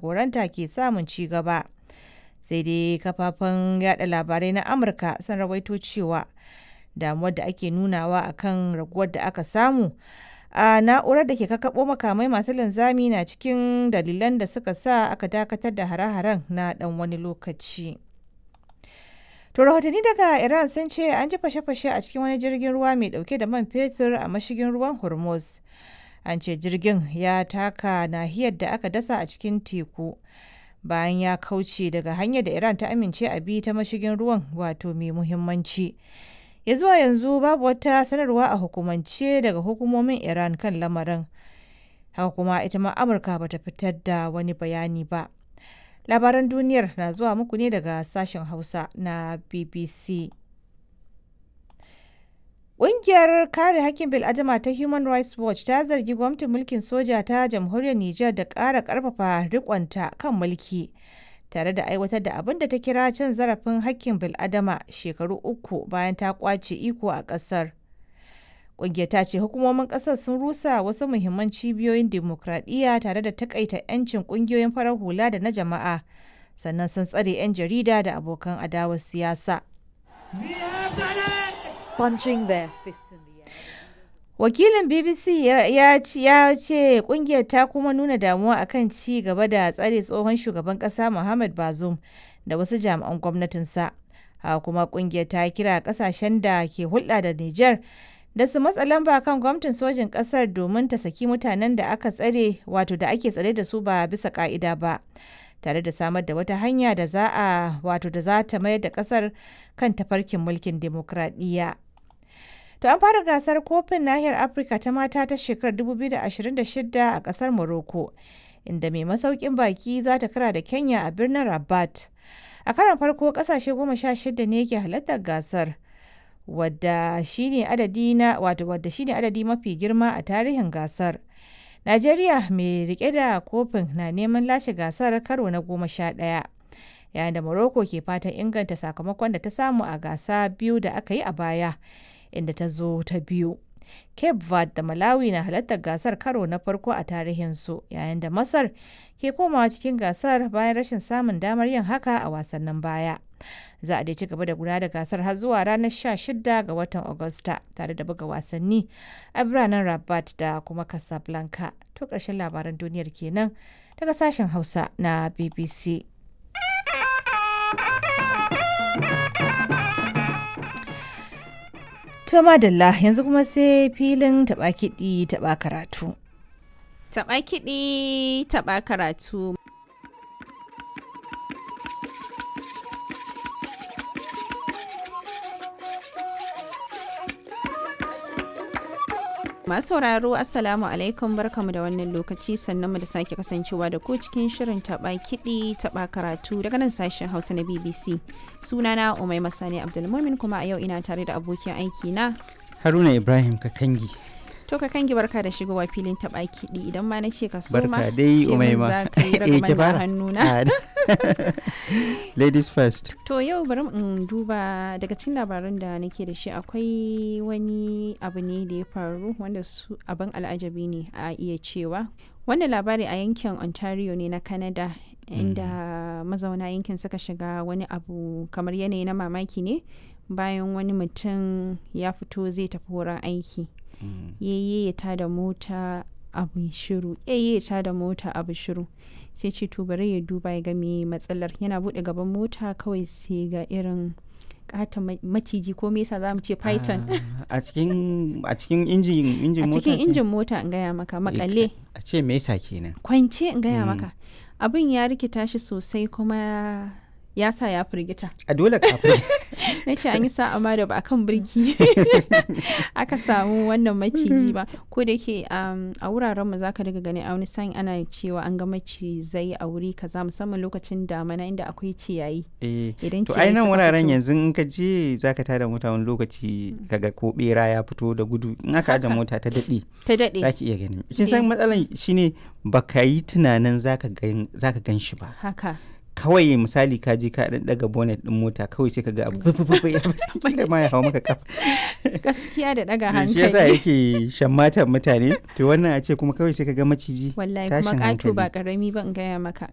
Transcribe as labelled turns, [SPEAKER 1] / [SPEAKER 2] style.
[SPEAKER 1] jagoranta ke samun ci gaba. Sai dai kafafen yada labarai na Amurka sun rawaito cewa damuwar da ake nunawa akan raguwar da aka samu a na'urar da ke kakkaɓo makamai masu linzami na cikin dalilan da suka sa aka dakatar da hare-haren na dan wani lokaci. To rahotanni daga Iran sun ce an ji fashe-fashe a cikin wani jirgin ruwa mai dauke da man fetur a mashigin ruwan Hormuz. An ce jirgin ya taka nahiyar da aka dasa a cikin teku bayan ya kauce daga hanyar da Iran ta amince a bi ta mashigin ruwan wato mai muhimmanci. Ya zuwa yanzu babu wata sanarwa a hukumance daga hukumomin Iran kan lamarin. Haka kuma ita ma Amurka bata fitar da wani bayani ba. Labaran duniyar na zuwa muku ne daga sashen Hausa na BBC. Ƙungiyar kare hakkin bil'adama ta Human Rights Watch ta zargi gwamnatin mulkin soja ta jamhuriyar Nijar da ƙara ƙarfafa riƙonta kan mulki tare da aiwatar da abin da ta kira cin zarafin hakkin bil'adama shekaru 3 bayan ta ƙwace iko a ƙasar. Ƙungiyar ta ce hukumomin ƙasar sun rusa wasu muhimman cibiyoyin dimokuraɗiyya tare da takaita 'yancin ƙungiyoyin farar hula da na jama'a, sannan sun tsare 'yan jarida da abokan adawar siyasa.
[SPEAKER 2] Punching their fists in the air.
[SPEAKER 1] Wakilin BBC ya ce kungiyar ta kuma nuna damuwa akan ci gaba da tsare tsohon shugaban kasa Muhammad Bazoum da wasu jami'an gwamnatinsa. Haka kuma kungiyar ta kira kasashen da ke hulɗa da Nijar da su matsa lamba kan gwamnatin sojin kasar domin ta saki mutanen da aka tsare wato da ake tsare da su ba bisa ka'ida ba. Tare da samar da wata hanya da za a wato da za ta mayar da kasar kan tafarkin mulkin demokradiyya. To an fara gasar kofin nahiyar Afirka ta mata ta shekarar 2026 a kasar Morocco, inda mai masaukin baki za ta kara da Kenya a birnin Rabat. A karon farko kasashe 16 ne ke halartar gasar, wadda shine adadi na wato wadda shine adadi mafi girma a tarihin gasar. Najeriya mai rike da kofin na neman lashe gasar karo na 11. Yayin da Morocco ke fatan inganta sakamakon da ta samu a gasa biyu da aka yi a baya, inda ta zo ta biyu. Cape Verde da Malawi na halartar gasar karo na farko a tarihinsu, yayin da Masar ke komawa cikin gasar bayan rashin samun damar yin haka a wasannin baya. Za a dai ci gaba da gudanar da gasar har zuwa ranar 16 ga watan Agusta tare da buga wasanni a biranen Rabat da kuma Casablanca. To ƙarshen labaran duniyar kenan daga sashen Hausa na BBC. To madalla yanzu kuma sai filin taɓa kiɗi taɓa karatu.
[SPEAKER 3] Taɓa kiɗi taɓa karatu. Masu sauraro Assalamu alaikum barkamu da wannan lokaci sannan mu da sake kasancewa da ku cikin shirin taɓa kiɗi taɓa karatu daga nan sashen Hausa na BBC. Sunana Umai Masani Abdulmumin kuma a yau ina tare da abokin aiki na
[SPEAKER 4] Haruna Ibrahim Kakangi.
[SPEAKER 3] To Kakangi, barka da shigowa filin taɓa kiɗi. Idan ma na ce ka soma,
[SPEAKER 4] Barka dai
[SPEAKER 3] ce min
[SPEAKER 4] Umaima.
[SPEAKER 3] za ka yi
[SPEAKER 4] Eh, ki
[SPEAKER 3] ragaman na
[SPEAKER 4] fara.
[SPEAKER 3] hannuna.
[SPEAKER 4] Ah, Ladies first.
[SPEAKER 3] To yau bari in duba daga cikin labaran da nake da shi, akwai wani abu ne da ya faru wanda su abin al'ajabi ne a iya cewa. Wannan labari a yankin Ontario ne na Canada, inda mazauna yankin suka shiga wani abu kamar yanayi na mamaki ne bayan wani mutum ya fito zai tafi wurin aiki. Yayye ya tada mota, abu shiru, yayye ya tada mota, abu shiru. Sai ce to bari ya duba ya ga me matsalar. Yana bude gaban mota kawai sai ga irin katon maciji, ko me yasa zamu ce python.
[SPEAKER 4] Ah, a cikin injin
[SPEAKER 3] a
[SPEAKER 4] mota.
[SPEAKER 3] cikin injin mota in gaya maka, makale
[SPEAKER 4] A ce me yasa kenan?
[SPEAKER 3] kwance in gaya maka. Abin ya rikita shi sosai kuma ya sa ya firgita.
[SPEAKER 4] A dole kafin.
[SPEAKER 3] Na ce an yi sa'a ma da ba a kan birki aka samu wannan maciji ba. Ko da yake a wuraren mu zaka daga gani a wani sa'in ana cewa an ga macizai a wuri kaza, musamman lokacin damana inda akwai ciyayi.
[SPEAKER 4] Eh,
[SPEAKER 3] Idan
[SPEAKER 4] to
[SPEAKER 3] ciyayi
[SPEAKER 4] ai nan
[SPEAKER 3] suka
[SPEAKER 4] wuraren
[SPEAKER 3] fito.
[SPEAKER 4] yanzu in ka je zaka tada mota wani lokaci kaga ko bera ya fito da gudu in aka aje
[SPEAKER 3] Haka.
[SPEAKER 4] mota ta dade
[SPEAKER 3] ta daɗe
[SPEAKER 4] zaki iya ganin. Kin
[SPEAKER 3] Eh.
[SPEAKER 4] san matsalan shine baka yi tunanin zaka gan shi ba.
[SPEAKER 3] Haka.
[SPEAKER 4] Kawai misali ka je ka dan daga bonnet din mota kawai sai ka ga abu fufufu ya kila ma ya hawo maka kafa.
[SPEAKER 3] Gaskiya da ɗaga
[SPEAKER 4] Shi yasa
[SPEAKER 3] hankali.
[SPEAKER 4] yake shammatan mutane. To wannan a ce kuma kawai sai ka ga maciji.
[SPEAKER 3] Wallahi kuma
[SPEAKER 4] Tashin
[SPEAKER 3] ƙato ba
[SPEAKER 4] hankali.
[SPEAKER 3] ƙarami ba in gaya maka.